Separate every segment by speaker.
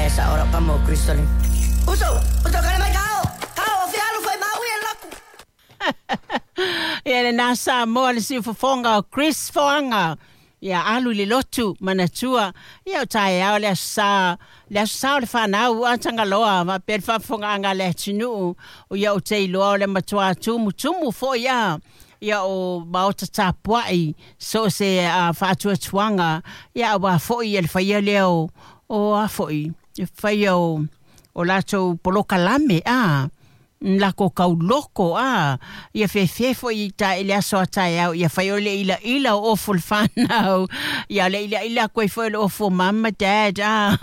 Speaker 1: E sa ora pa mo Crystalline. Uso, uso kare mai kao. Kao o fialu foi mau e loku.
Speaker 2: Ia lena Samoa le siufofoga o Chris Foaga. Ia alu i le lotu manatua. Ia o taeao le aso sa, le aso sa o le fanau a Tagaloa faapea le faafofogaaga a le atunuu. O ia ou te iloa o le matuā tumutumu foi a. Ia o maota tapuai so o se faatuatuaga ia auā foi ia le faia lea o o a foi le faia o o latou polokalame a lako kauloko a ia fefe foi i ta i le aso a taeao ia fai o le ilaila o ofu o le fanau ia le ilaila atu ai foi o le ofu o mum ma dad a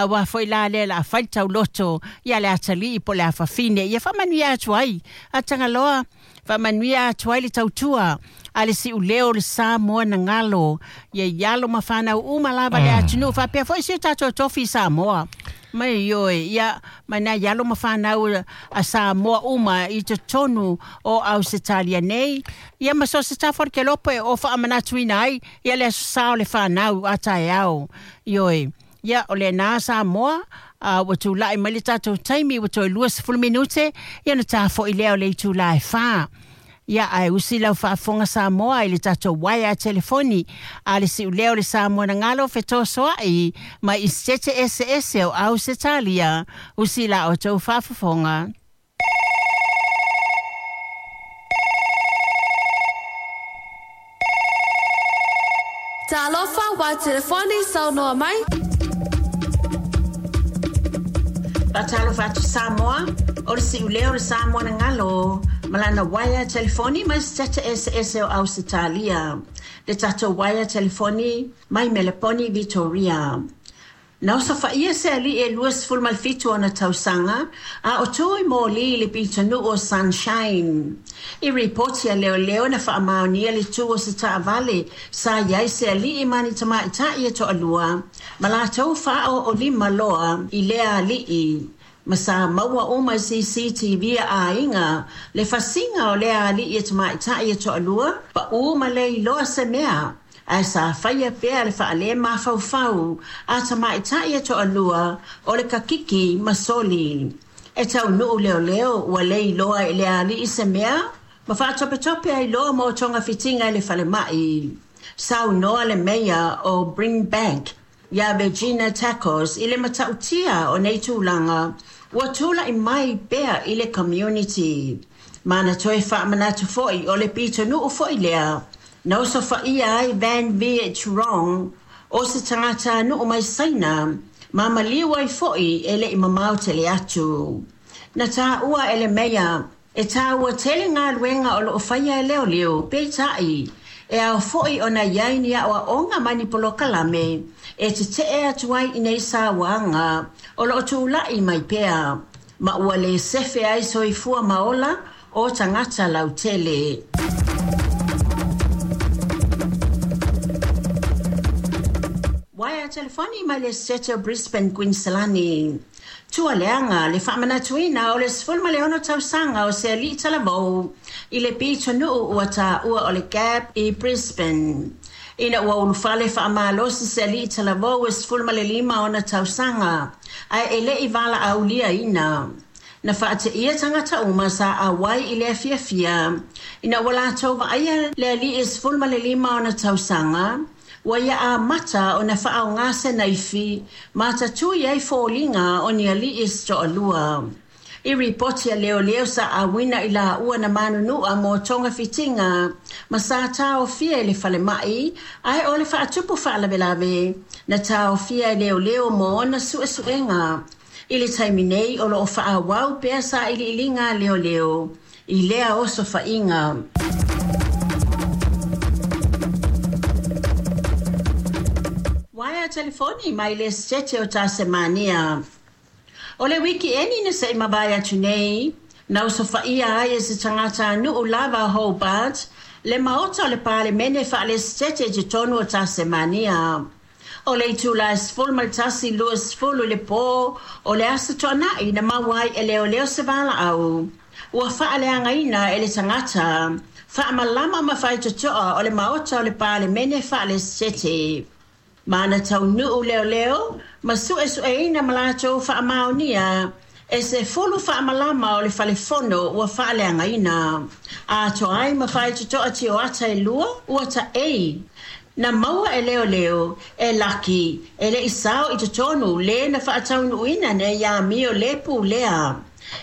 Speaker 2: auā foi la lea o le a fai le tauloto ia le atalii po o le afafine ia faamanuia atu ai a Tagaloa Faamanuia atu ai le tautua a le siuleo o le Samoa na galo ia i alo ma fanau uma lava le atunuu faapea foi si o tatou tofi i Samoa. Mai ioe, ia, mai nai alo ma fanau a Samoa uma i totonu o Ausetalia nei, ia ma so o se tafa o le kelopo e o faamanatuina ai ia le aso sa o le fanau a taeao. Ioe. Ia, o lena Samoa, a ua tulai mai le tatou taimi ua toe 20 minute, ia ona ta foi lea o le itula e 4. Ia, ae usi lau faafofoga Samoa i le tatou uaea telefoni a le siuleo o le Samoa na galo fetosoa'i mai i Setete eseese o Ausetalia, usi la outou faafofoga.
Speaker 3: Talofa, wa telefoni saunoa mai.
Speaker 2: Faatalofa atu Samoa, o le siuleo o le Samoa na galo ma lana uaea telefoni mai Setete eseese o Ausetalia. Le tatou uaea telefoni mai Meleponi, Vitoria. Na osofaia se alii e 27 ona tausaga, a o tu i moli i le pitonuu o Sunshine. I ripoti a leoleo na faamaonia le tu o se taavale sa i ai se alii ma ni tamaitai e toalua, ma latou faaoolima loa i lea alii, ma sa maua uma i CCTV a aiga le fasiga o lea alii e tamaitai e toalua, paū ma le iloa se mea. Ae sa faia pea le faalemafaufau a tamaitai e toalua o le Kakiki ma Soli. E taunuu leoleo ua le iloa e le alii se mea ma faatopetope ai loa mo togafitiga i le falemai. Saunoa le meia o Brimbank iā Regina Tacos i le matautia o nei tulaga ua tulai mai pea i le community. Ma na toe faamanatu foi o le pitonuu foi lea na osofaia ai Van Viet Rong o se tagatanuu mai Saina ma maliu ai foi e le i mamao tele atu. Na taua e le meia E taua tele galuega o lo o faia e leoleo, peitai, e ao foi ona i ai ni aoaoga ma ni polokalame e tetee atu ai i nei sauaga o lo o tulai mai pea, ma ua le sefe ai soifua ma ola o tagata lautele. Waea telefoni mai le Setete o Brisbane, Kuiniselani. Tualeaga le faamanatuina o le 16 tausaga o se alii talavou i le pitonuu ua taua o le Gap i Brisbane. Ina ua ulufale faamalosi se alii talavou e 15 ona tausaga ae e le i valaauliaina. Na faateia tagata uma sa auai i lea fiafia ina ua latou vaaia le alii e 15 ona tausaga ua ia amata ona faaaoga se naifi ma tatui ai foliga o ni alii se toalua. I ripoti a leoleo sa auina i laua na manunua mo togafitiga ma sa taofia i le falemai ae o le faatupu faalavelave na taofia e leoleo mo ona suesuega. I le taimi nei o lo o faaauau pea sailiiliga a leoleo i lea osofaiga. Waea telefoni mai le Setete o Tasemania. O le wikieni na se i mavae atu nei, na osofaia ai e se tagatanuu lava o Hobart le Maota o le Palemene faale-Setete i totonu o Tasemania. O le itula e 11:20 i le pō o le Aso Toonai na maua ai e leoleo se valaau ua faaleagaina e le tagata faamalama ma faitotoa o le Maota o le Palemene faale-Setete. Ma na taunuu leoleo ma suesueina ma latou faamaonia e 10 faamalama o le falefono ua faaleagaina. Atoa ai ma faitotoa tioata e 2 ua taei. Na maua e leoleo e Laki e le i sao i totonu le na faataunuuina nei amio le pulea.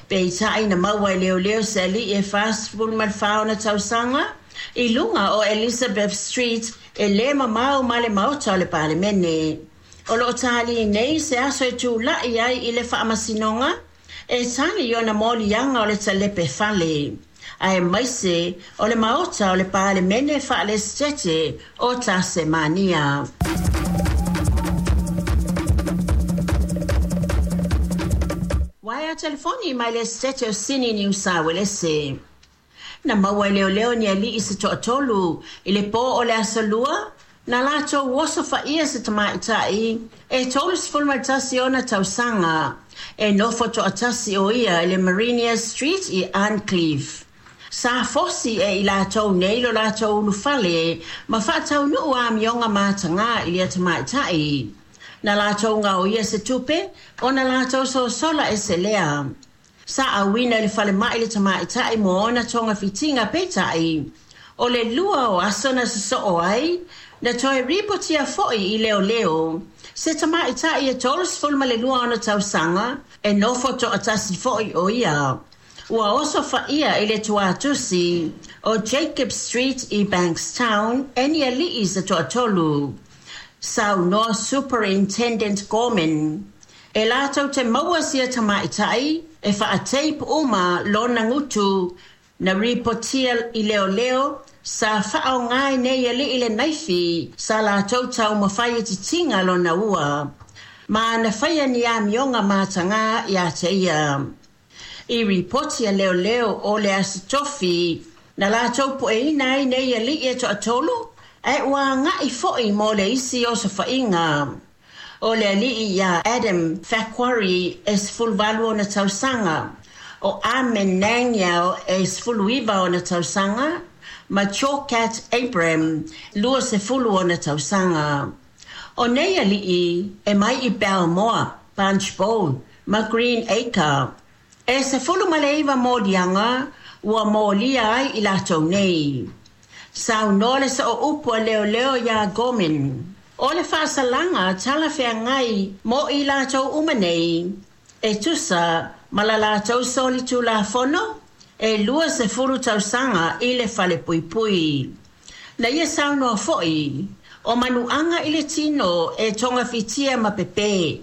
Speaker 2: Peitai na maua e leoleo se alii e 44 ona tausaga i luga o Elizabeth Street e lē mamao ma le maota o le Palemene. O loo tālī nei se aso e tula'i ai i le faamasinoga e tali i ona moliaga o le talepe fale, aemaise o le maota o le Palemene Faalesetete o Tasemania. Waea telefoni mai le Esetete o Sini Niu Sa Uelese. Na maua e leoleo ni alii se toatolu i le pō o le aso Lua, na latou osofaia se tamaitai e 31 ona tausaga e nofo toatasi o ia i le Marinia Street i Arncliffe. Sa fosi e i latou nei lo latou ulufale ma faataunuu amioga mataga i lea tamaitai. Na latou gaoia se tupe ona latou sosola ese lea. Sa auina i le falemai le tamaitai mo ona togafitiga, peitai o le 2 o aso na sosoo ai na toe ripotia foi i leoleo se tamaitai e 32 ona tausaga e nofo toatasi foi o ia. Ua osofaia i le tuatusi o Jacob Street i Bankstown e ni alii se toatolu. Saunoa Superintendent Gorman e latou te maua sia tamaitai e faateip uma lona gutu. Na ripotia i leoleo sa faaoga e nei alii le naifi sa latou taumafai e titiga lona ua. Ma na faia ni amioga mataga ia te ia. I ripoti a leoleo o le Aso Tofi na latou pueina ai nei alii e toatolu ae ua aga'i foi mo le isi osofaiga. O le alii ia Adam Faquarry e 18 ona tausaga, o Amen Nangyal e 19 ona tausaga, ma Chokat Abram 20 ona tausaga. O nei alii e mai i Balmoa, Punchbowl ma Green Acre. E 19 moliaga ua molia ai i latou nei. Saunoa le sooupu a leoleo iā Gorman. O le faasalaga talafeagai mo i latou uma nei e tusa ma la latou solitulafono e 20 tausaga i le falepuipui. Na ia saunoa foi o manuaga i le tino e togafitia ma pepē.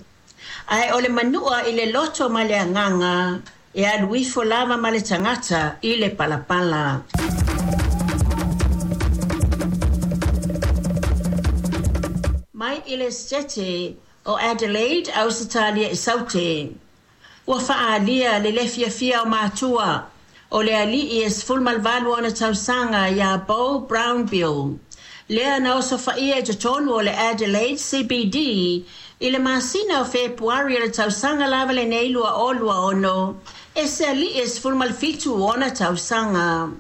Speaker 2: Ae o le manua i le loto ma le agaga e alu ifo lava ma le tagata i le palapala. Mai i le Esetete o Adelaide, Ausetalia i Saute. Ua faaalia le lē fiafia o matua o le alii e 18 ona tausaga iā Bo Brownbill, lea na osofaia i totonu o le Adelaide CBD i le masina o Fepuari o le tausaga lava lenei 2026 e se alii e 17 ona tausaga.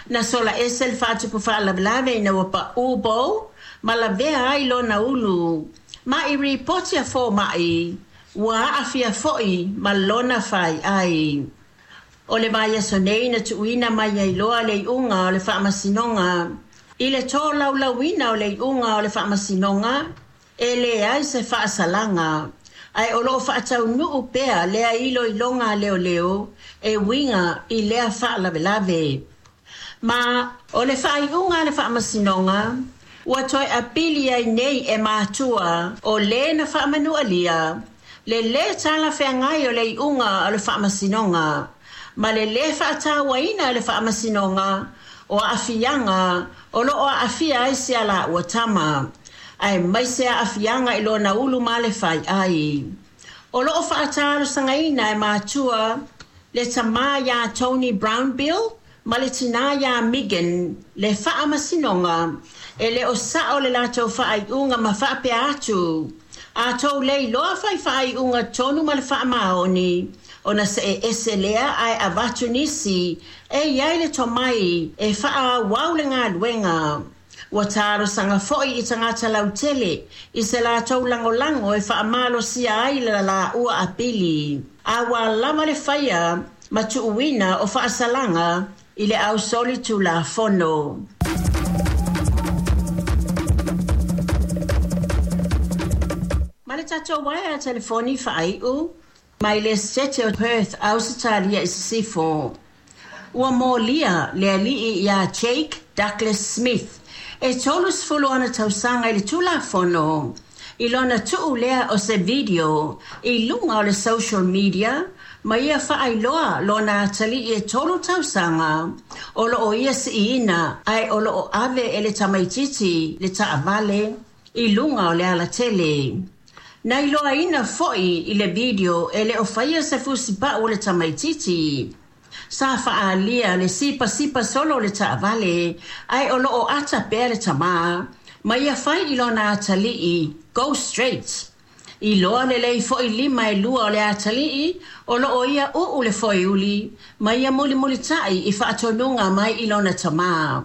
Speaker 2: Na sola ese le faatupu faalavelave ina ua paū Bo ma lavea ai lona ulu. Ma i ripoti a fomaʻi ua aafia foi ma lona faiai. O le vaiaso nei na tuuina mai ai loa le iuga o le faamasinoga. I le tolaulauina o le iuga o le faamasinoga e leai se faasalaga, ae o loo faataunuu pea lea iloiloga a leoleo e uiga i lea faalavelave. Ma o le faaiuga a le faamasinoga ua toe apili ai nei e matua o lē na faamanualia le lē talafeagai o le iuga o le faamasinoga ma le lē faatauaina e le faamasinoga o aafiaga o loo aafia ai se alaua tama, aemaise aafiaga i lona ulu ma le faiai. O loo faatalosagaina e matua le tamā iā Tony Brownbill ma le tinā iā Megan le faamasinoga e le o sao le latou faaiuga ma faapea atu. A tou le iloa fai faaiuga tonu ma le faamaoni ona see ese lea ae avatu nisi e iai le tomai e faaauau le galuega. Ua talosaga foi i tagata lautele i se latou lagolago e faamalosia ai le laua apili, aua lava le faia ma tuuina o faasalaga i le ausolitulafono. Ma le tatou uaea telefoni faaiu mai le Setete o Perth, Ausetalia i Sisifo. Ua molia le alii iā Jake Douglas Smith e 30 ona tausaga i le Tulafono i lona tuu lea o se video i luga o le social media ma ia faailoa lona atalii e 3 tausaga o lo o ia siiina ae o lo o ave e le tamaitiiti le taavale i luga o le alatele. Na iloaina foi i le video e le o faia se fusipau o le tamaitiiti. Sa faaalia le sipasipa solo o le taavale ae o lo o ata pea le tamā ma ia fai i lona atalii, Go straight. Iloa lelei foi lima e lua o le atalii o lo o ia uu le foeuli ma ia mulimulitai i faatonuga mai i lona tamā.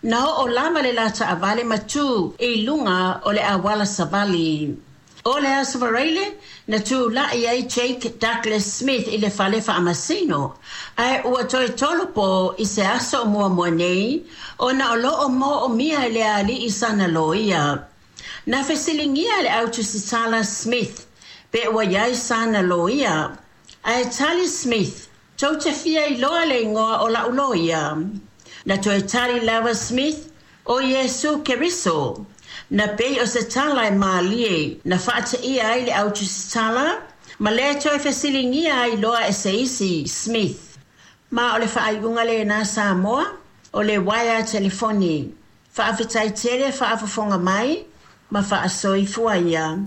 Speaker 2: Na oo lava le la taavale ma tu i luga o le auala savali. O le Aso Faraile na tulai ai Jake Douglas Smith i le fale faamasino, ae ua toe tolopo i se aso o muamua nei ona o lo o moomia e le alii sana loia. Na fesiligia e le au tusitala Smith pe ua i ai sana loia, ae tali Smith, Tou te fia iloa le igoa o la'u loia? Na toe tali lava Smith, O Iesu Keriso. Na pei o se tala e mālie na faateia ai le au tusitala ma le toe fesiligia ai loa e se isi Smith. Ma o le faaiuga lena Samoa, o le uaea telefoni. Faafetai tele faafofoga mai ma faasoifua ia.